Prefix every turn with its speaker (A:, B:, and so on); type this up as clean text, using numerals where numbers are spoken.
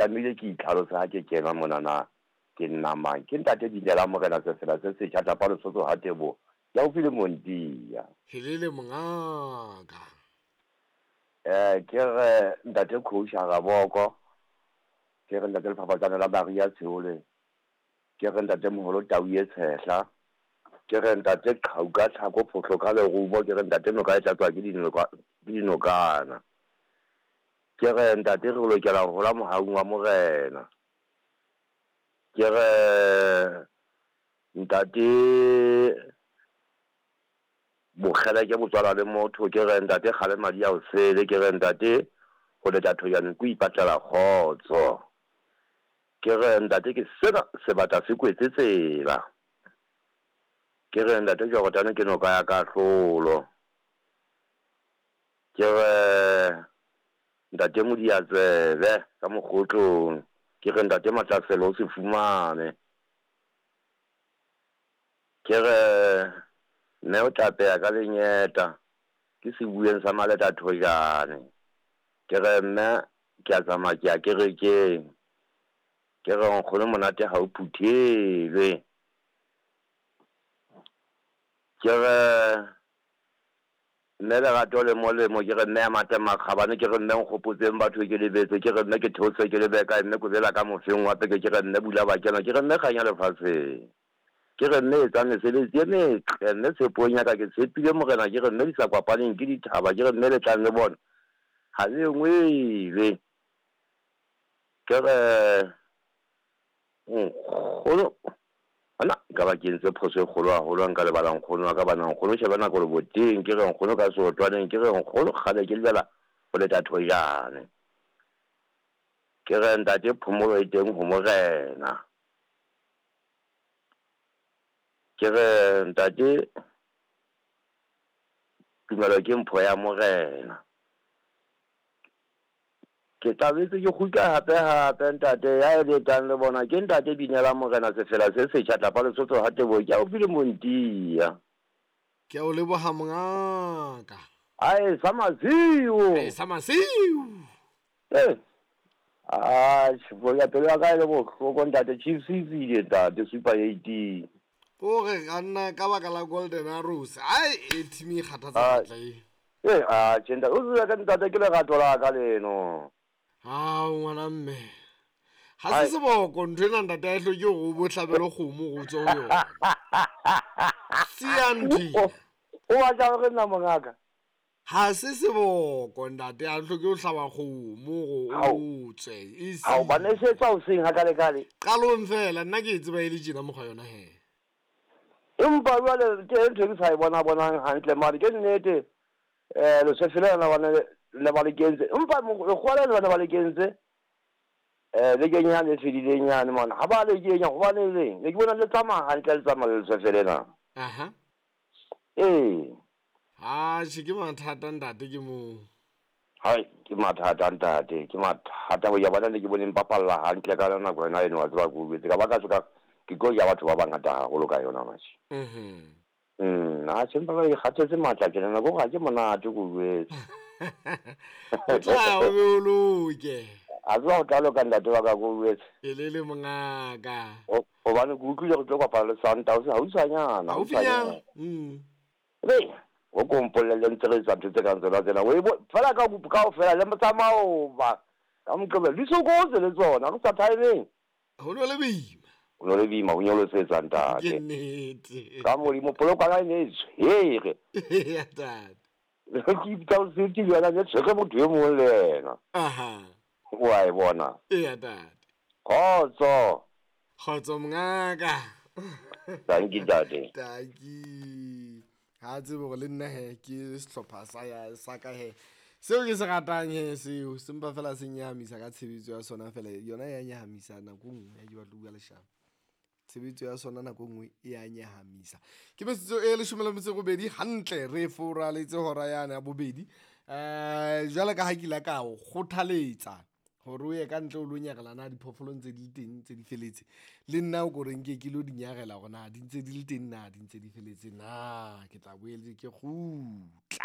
A: tlamehile ke itlhalose ha ke kena mona na ke nna mang. Ke ntate Binela Morena Sefela se setjha Tlapa Lesotho ha Teboho ke haufi le Montia.
B: Helele mongaka.
A: Ke re ntate Khousha Raboko, ke re ntate Lefafatsane la Maria Tsheole, ke re ntate Moholo Tau e Tshehla, ke re ntate Qhau ka tlhako phohlo ka lerumo, ke re ntate noka e tlatswa ke dinokana. Ke re ntate re lokela ho hola mohaung wa Morena. Ke re ntate bokgeleke bo tswalwa le motho, ke re ntate kgale madi a o sele, ke re ntate ho leta thojane ko ipatlela kgotso. Ke re ntate ke sena sebata se kwetse tsela. Ke re ntate Jordane ke noka ya kahlolo. Ke re ntate Modiatsebe ka mokgotlong, ke re ntate Matlaselo o se fumane. Ke re mme o tlapeha ka lenyeta ke sebueng sa Maleta Thojane. Ke re mme ke a tsamaya ke ya kerekeng. Ke re nkgono monate ha o phuthelwe. Ke re mme lerato le molemo, ke re mme ya matle makgabane, ke re mme nkgopotseng batho ke lebetse, ke re mme ke theose ke lebe kae, mme kobela ka mofeng wa peke, ke re mme bula bakena, ke re mme kganya lefatsheng. Ke re mme etsa mesebetsi e metle, mme tshepong ya ka ke tshepile Morena, ke re mme di sa kopaneng ke dithaba, ke re mme le tlang le bona ha le engwele. Ke re nkgono ana nka ba ke entse phoso e kgolo haholo ha nka lebala nkgono wa ka bana nkgono sheba nako le boteng, ke re nkgono ka seotwaneng, ke re nkgono kgale ke lebela ho leta thojane. Ke re ntate phomolo e teng ho Morena. Ke re ntate tumelo ke mpho ya Morena. Ke tlabetse ke kgutla hape hape ntate ya e letang le bona ke ntate Binela Morena Sefela se setjha Tlapa Lesotho ha Teboho ke haufi le Montia.
B: Ke a o leboha mongaka.
A: Ae sa masiu.
B: Ae sa masiu.
A: Eh. Ah, ya pelo ya ka e le bohloko ntate Chiefs e tswile ntate Super 18.
B: O re ka nna ka baka la Golden Arrows. Ai e team e kgathatsa matla e.
A: Eh, ah, tjhe ntate, o tsebe ka ntate ke lerato la ka leno.
B: Ao ngwana mme. Ha se seboko ntho ena ntate a e hloke hore o bo hlabele kgomo go tswe ho yona. Siya ntho ena.
A: O batla hore nna mongaka?
B: Ha se seboko ntate a hloke ho hlaba kgomo go o tswe.
A: Ao bana e se tswa hoseng ha kale kale.
B: Qalong fela nna ke e tseba e le tjena mokgwa yona he.
A: Empa jwale ke ntho e ke sa e bona bonang hantle mare ke nnete leswefe lena bana le ba le kentse empa lekgowa lena bana ba le kentse bekeng yane e fedileng yane mona ha ba le kenya gobane leng ne ke bona le tsamaya hantle le tsamaya le leswefe lena.
B: Aha.
A: Ee.
B: Atjhe ke mathata ntate ke moo.
A: Hai ke mathata ntate ke mathata ho ya bona ne ke boneng bapalla hantle ka nako yona eno wa tseba ke utlwetse ka ba ka soka ke tlo ja batho ba bangata haholo ka yona matjhe. Atjhe empa ba ikgathetse matla tjena nako ga ke monate ke utlwetse.
B: O tla o be o loke.
A: A tseba ho tla loka ntate wa ka ke utlwetse.
B: Elele mongaka.
A: Hobane ke utlwile re tlo kopana le Sundowns haufinyana.
B: Haufinyana.
A: Re o ko mpolelle ntse re etsa ntho tse kang tsona tsena. O e fela ka kaofela le motsamao ba ka Moqebelo di sokotse le tsona re sa timeng.
B: Ho no le boima.
A: Ho no le boima ho nyolosetsa ntate.
B: Ke nnete.
A: Ka Modimo polokwana e ne e tshwere.
B: Ya ntate.
A: Ke ipitsa o se yona ne tshwere motho e mong le yena.
B: Aha.
A: O a e bona.
B: Eya ntate.
A: Kgotso.
B: Kgotso mongaka.
A: Thank you ntate.
B: Thank you. Ha tsebe hore le nna he ke sehlopha sa ya sa ka he. Seo ke se ratang he seo sempa fela se nyahamisa ka tshebetso ya sona fela yona ya nyahamisa nako nngwe ya ke batla bua leshano. Tshebetso ya sona nako nngwe e ya nyahamisa. Ke metsotso e 18 hantle re foraletse hora yane ya bobedi. Jwale ka ha ke ile ka o kgothaletsa hore o ye ka ntle o lo nyarela na diphoofolo ntse di le teng ntse di feletse. Le nna o ko reng ke lo di nyarela hore na di ntse di le teng na di ntse di feletse na ke tla boele ke kgutla.